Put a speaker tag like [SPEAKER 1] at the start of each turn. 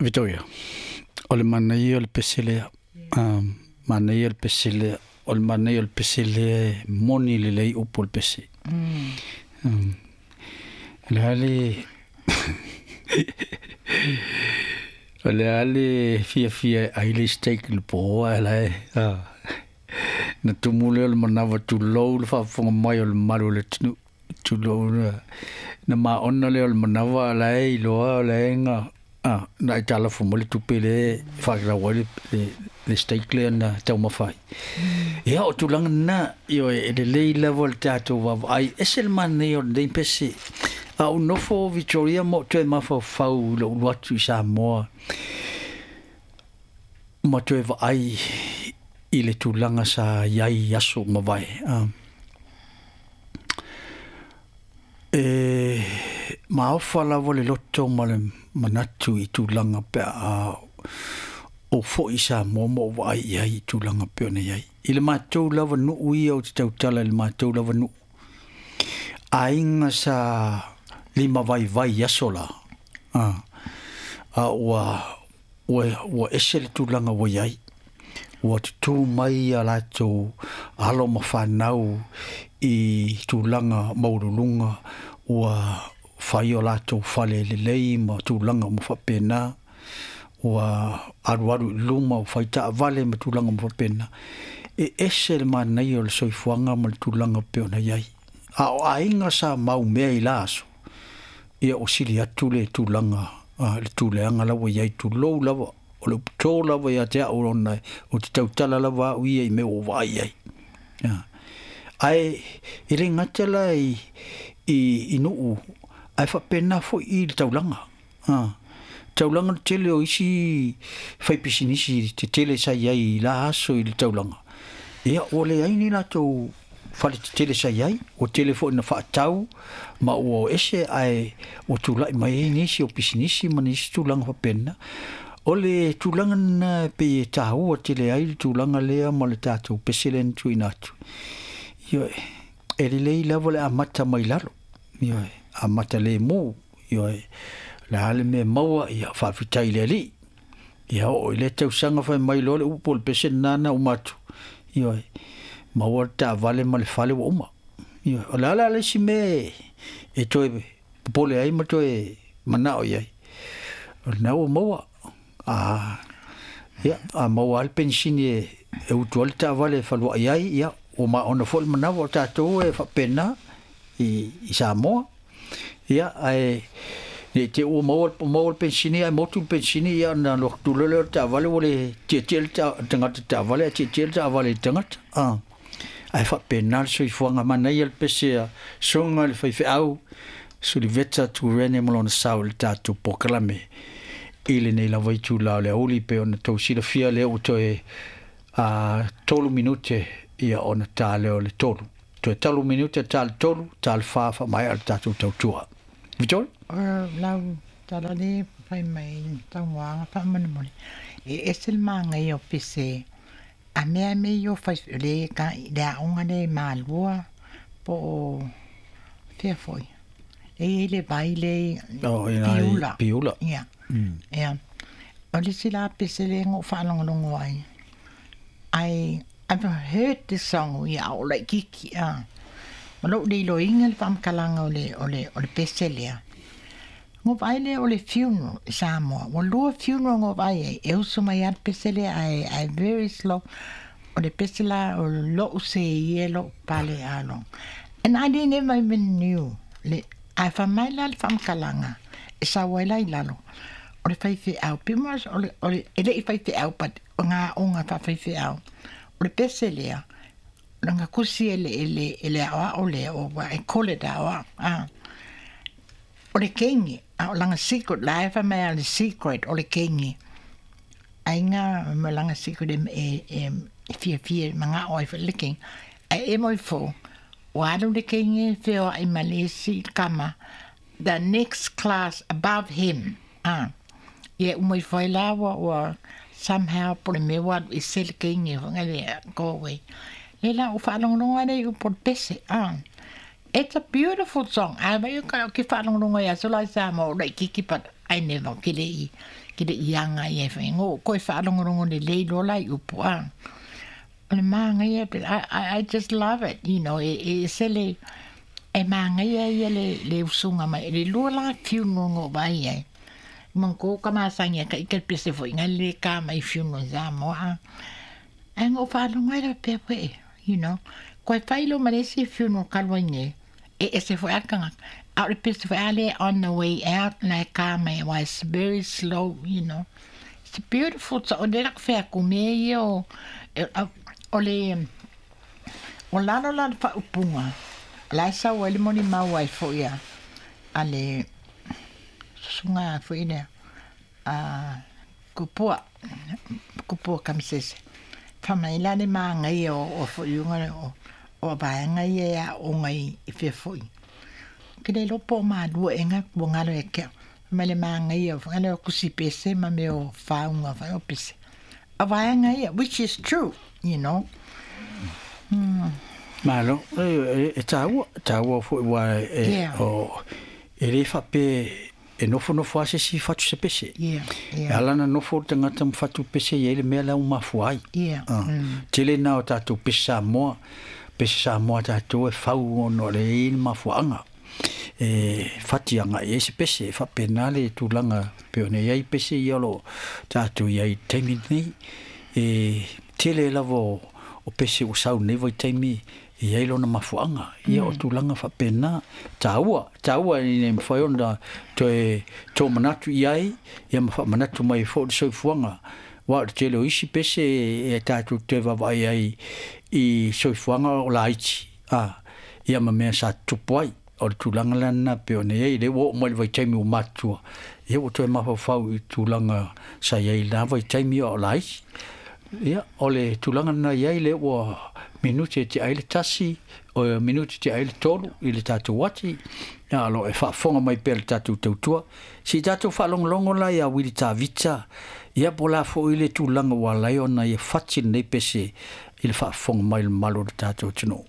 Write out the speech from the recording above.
[SPEAKER 1] Victoria, o le manaia o le pese lea, manaia o le pese lea, o le manaia o le pese lea e moni lelei upu o le pese. O le a le o le a le fiafia e ai le steak i le po ae la e na tumu lea o le manava tulou le faafofoga mai o le mamalu o le atunuu. Tulou na maona lea o le manava a la e iloa o la e na na e talafo mai le tupe lea e faatatau ai le steak lea na taumafa ai. Ia o tulaga na, ioe, e lelei lava le tatou vaavaai, ese le manaia o lenei pese. A ou nofo Victoria ma ou toe mafaufau i lou alu atu i Samoa ma toe vaai i le tulaga sa i ai i aso ua mavae. E maofa lava le loto ma le manatu i tulaga pe a ou foi i Samoa ma ou vaai i ai i tulaga pei ona i ai. I le matou lava nuu ia ou te tautala i le matou lava nuu, aiga sa limavaivai i aso la, a ua ua ese le tulaga ua i ai. Ua tutū mai a latou alo ma fanau i tulaga maualuluga, ua fai o latou fale lelei ma tulaga uma faapena, ua alualu i luma, ua fai taavale ma tulaga uma faapena. E ese le manaia o le soifuaga ma le tulaga e pei ona i ai. A o aiga sa maumea i la aso, ia ua sili atu le tulaga, le tuleaga la ua i ai, tulou lava, o le upu to lava ia te au ona ou te tautala lava au ia i mea ua ou vaai i ai. Ae e le gata la i nuu, ae faapena foi i le taulaga. Taulaga le tele o isi faipisinisi tetele sa i ai i la aso i le taulaga, ia ua leai ni latou fale tetele sa i ai, ua tele foi ina faatau ma ua o ese ae ua tulai mai ai nisi o pisinisi ma nisi tulaga faapena. O le tulaga lena e pei e taua tele ai le tulaga lea ma le tatou pese lea na tuuina atu. Ioe, e lelei lava le amata mai lalo, ioe, amata lemu, ioe, o le a le mea e maua, ia faafetai i le Alii. Ia oo i lea tausaga fai mai loa le upu o le pese lena na uma atu, ioe, maua le taavale ma le fale ua uma. Ioe, o le a la le isi mea e toe popole ai ma toe manao i ai? O lena ua maua. A, ia, a maua lava le penisini e utu ai le taavale e faluai ai, ia, ua maona foi le manava o tatou e faapena i Samoa. Ia, ae ne i te i ua maua, maua le penisini ae motu le penisini, ia ona alu atu loa lea o le taavale ua le tietie le tagata i le taavale ae tietie le taavale i le tagata. Ae faapena le soifuaga. Manaia le pese a Susuga i le Faifeau Suliveta Turene ma lona sao i le tatou polokalame i lenei lava itula o le aoauli pei ona tou silafia lea ua toe 3 minute ia ona ta lea o le 3. Toe 3 minute ta le 3, ta le 4 faamaea le tatou tautua. Victoria?
[SPEAKER 2] O lau tala le fai mai tauaga faamolemole e ese le manaia o pese a mea mea i o fai le ka le aoga le Malua po o fea foi e i ai le vai le
[SPEAKER 1] Oh, i nai
[SPEAKER 2] Piula.
[SPEAKER 1] Piula.
[SPEAKER 2] Ia. Ia. O le isi la pese le na ou faalogologo ai. I I've heard this song ia a o laitiiti a. Ma lou le iloiga le faamatalaga o le o le o le pese lea. Na ou vaai lea o le funeral i Samoa. Ua lua funeral na ou vaai ai, e usu mai lava le pese lea ae ae very slow. O le pese la o lou seia lou pale alo. And I didn't ever even knew le ae fai mai la le faamatalaga e sau ai la i lalo, o le faifeau pe ma o le o le e le i faifeau but o ngā aoga faafaifeau. O le pese lea, lana kusi e le e le e le aoao lea o ua e call it aoao a. O le kenge, a o lana secret la e fai mai a le secret o le kenge. Aiga ma lana secret e e e fiafia e manao ai foi le kenge. Ae emo ifo, ua alu le kenge feoai ma le isi tama the next class above him a. Ia uma ifo ai la ua ua somehow po o le mea ua alu ese le kenge foi lea go away. Lea la ua faalogologo lea i upu o le pese a. It's a beautiful song. A vai o ka ke faalogologo ai aso la i Samoa o laitiiti but I never ke le i ke le i aga i ai foi ngo koe faalogologo lelei loa la i upu a o le magaia I just love it you know e e ese le e magaia ia le le usuga mai le lua la funeral na ou vaai ai manatua ka masani ai ka ike le pese foi na le ka mai funeral i Samoa a ae na ou faalogo ai la faapea foi you know koe fai loa ma le isi funeral talu ai nei e ese foi a le tagata a o le pese foi a lea on the way out na e ka mai aua it's very slow you know it's beautiful so o lea la ku fai atu mea ia o o le o lalo la o le faaupuga o la e sau ai le molimau ai foi a a le susuga foi lea a Kupua, Kupua Kamisese. Fai mai la le magaia o foiuga o vaega ia e aoga i fea foi. Ke le iloa po o malua ea ua galo ia te au. Fai mai le magaia o kusi pese ma mea o faauga foi o pese. O vaega ia, which is true, you know.
[SPEAKER 1] Malo, e taua, taua foi aua e o e le faapea e nofonofo lava se isi fatu se pese. E ala ona nofo le tagata ma fatu pese e i ai le mea la ua mafua ai. Tele na o tatou pese Samoa, pese Samoa a tatou e fau ona o le i ai le mafuaaga. E fati agai i ai se pese, e faapena le tulaga e pei ona i ai pese ia o lo o tatou i ai i le taimi lenei. E tele lava o pese ua sau i lenei vaitaimi e i ai lona mafuaaga. Ia o tulaga faapena, taua, taua ina ia mafai ona toe tomanatu i ai, ia ma faamanatu mai ai foi le soifuaga. Aua o le tele o isi pese e tatou te vaavaai ai i soifuaga o laiti, a, ia ma mea sa tutupu ai. O le tulaga la lena e pei ona i ai, lea ua oo mai i le vaitaimi ua matutua, ia ua toe mafaufau i tulaga sa i ai i lena vaitaimi a o laiti. Ia, o le tulaga lena i ai, lea ua minute e tea ai le 1, o minute e tea ai le 3 i le tatou ati, a o lo o e faafofoga mai pea i le tatou tautua. Se i tatou faalogologo la ia Wili Tavita, ia po o le a foi le tulaga ua ala ai ona ia fati lenei pese i le faafofoga mai le mamalu o le tatou atunuu.